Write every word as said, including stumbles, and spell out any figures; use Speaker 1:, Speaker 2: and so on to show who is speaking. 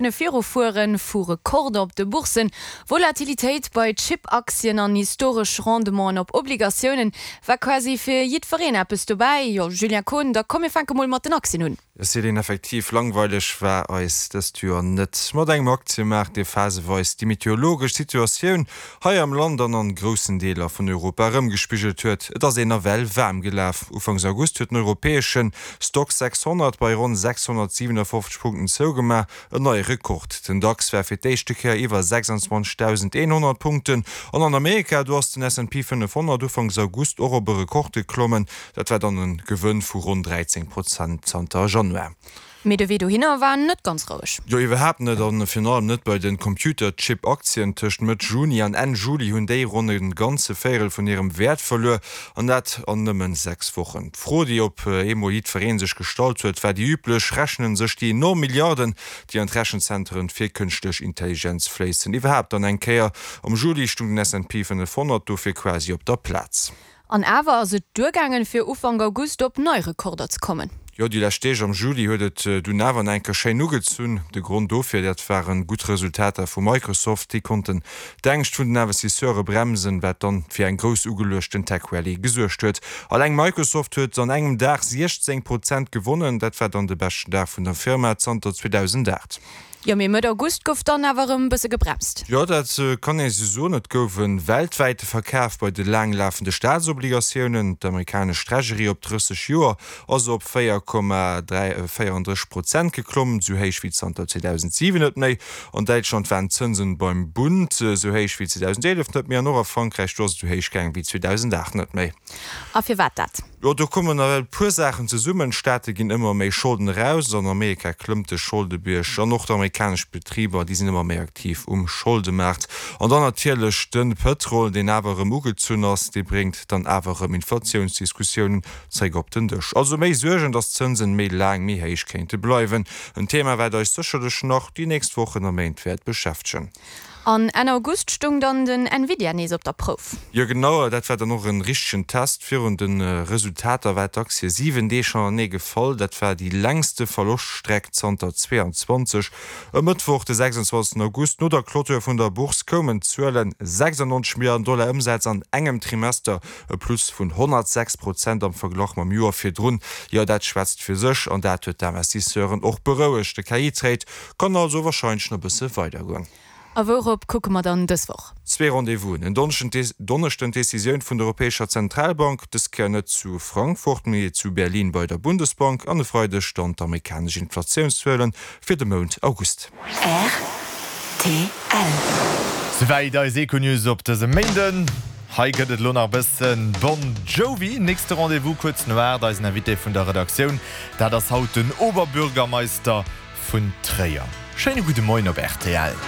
Speaker 1: Virufueren, vu Rekorder op de Bourssen, Volatilitéit bei Chip-Aktien an historesch Rendementen op Obligatiounen, war quasi fir jiddwereen eppes dobäi. Jo, Julien Kohn, da komm mir fänke mol mat den Aktien un.
Speaker 2: Céline, effektiv, langweileg war eis dëst Joer net. Mat engem Aktiemaart, dee phaseweis déi meteorologesch Situatioun hei am Land an an groussen Deeler vun Europa erëmgespigelt huet. Et ass een nawell waarm gelaf. Ufanks August huet den europäesche Stoxx sechshonnert bei ronn sechshonnertsiewenafofzeg Punkten zougemaach, en neie Rekord. Den DAX war fir d'éischte Kéier iwwer sechsundzwanzegdausendeenhonnert Punkten. An an Amerika, do ass den S and P fënnefhonnert Ufanks August och op e Rekord geklommen. Dat war dann e Gewënn vu ronn dräizéng Prozent zanter Januar.
Speaker 1: Mee de Wee dohinner war net ganz roueg.
Speaker 2: Jo, iwwerhaapt net, an virun allem net bei de Computerchip-Aktien. Tëscht Mëtt Juni an Enn Juli hunn déi ronn e ganze Véierel vun hirem Wäert verluer, an dat an nëmmen sechs Wochen. D'Fro, déi op eemol jiddweree sech gestallt huet, war déi üblech, Rechnen sech déi enorm Milliarden, déi an d'Rechenzentren fir kënschtlech Intelligenz fléissen, iwwerhaapt dann eng Kéier? Am Juli stung den S and P fënnefhonnert dofir quasi op der Plaz.
Speaker 1: An awer ass et duergaangen, fir Ufank August op nei Rekorder ze kommen.
Speaker 2: Jo, déi lescht Deeg am Juli huet et dunn awer nach eng Kéier schéin ugezunn. De Grond dofir, dat ware gutt Resultater vu Microsoft. Déi konnten d'Ängscht vun den Investisseure bremsen, wat dann fir eng grouss ugeluechten Tech-Rallye gesuergt huet. Alleng Microsoft huet an engem Dag siechzéng Prozent gewonnen. Dat war dann de beschten Dag vun der Firma zanter zweedausendacht.
Speaker 1: Jo, mee Mëtt August gouf dann awer erëm bësse gebremst.
Speaker 2: Jo, dat kann ee sou soen. Et gouf e weltwäite Verkaf bei de laanglafende Staatsobligatiounen. D'amerikanesch Treasury op drësseg Joer ass op véier Komma véierandrësseg Prozent geklomm, sou héich wéi zanter zweedausentsiwen net méi. An Däitschland waren d'Zënsen beim Bund sou héich wéi zweedausenteelef net méi an och a Frankräich, do ass et sou héich gaang wéi zweedausenaacht net méi.
Speaker 1: A firwat dat?
Speaker 2: Jo, do kommen nawell e puer Saachen zesummen. D'Staate ginn ëmmer méi Scholden eraus, an Amerika klëmmt de Scholdebierg an och d'amerikanesch Betriber, déi sinn ëmmer méi aktiv um Scholdemaart. An dann natierlech de Pëtrol, deen awer erëm ugezunn ass, dee bréngt dann awer erëm Inflatiounsdiskussiounen zeréck op den Dësch. Also méi Suergen, datt d'Zënsen méi laang méi héich kéinte bleiwen. En Thema, wat eis sécherlech nach déi nächst Wochen a Méint wäert beschäftegen.
Speaker 1: An Enn August stoung dann den Nvidia nees op der Prouf.
Speaker 2: Jo genau, dat war dann och en richtegen Test. Virun de Resultater war d'Aktie siwen Deeg hanernee gefall. Dat war déi längste Verloschtstreck zanter zweeanzwanzeg. E Mëttwoch, de sechsundzwanzegsten August, no der Clôture vun der Bourse koumen d'Zuelen, sechsundneunzeg Milliarden Dollar Ëmsaz an engem Trimester, e Plus vun honnertsechs Prozent am Verglach mam Joer virdrun. Jo, dat schwätzt fir sech an dat huet d'Investisseuren och berouegt. De K I-Trade kann also warscheinlech nach e bësse weidergoen.
Speaker 1: A wourop kucke mer dann dës Woch?
Speaker 2: Zwee Rendez-vousen, en Donneschden d'Decisioun vun der Europäescher Zentralbank, dës Kéier net zu Frankfurt, mee zu Berlin bei der Bundesbank, an e Freideg dann d'amerikanesch Inflatiounszuele fir de Mount August.
Speaker 3: Rtl.
Speaker 4: Souwäit eis Econews op dësem Méinden. Hei gëtt et elo nach e bëssen Bon Jovi. Nächste Rendez-vous kuerz no aacht. Eisen Invité vun der Redaktioun, dat ass haut den Oberbürgermeister vun Tréier. Schéine gudde Moien op rtl.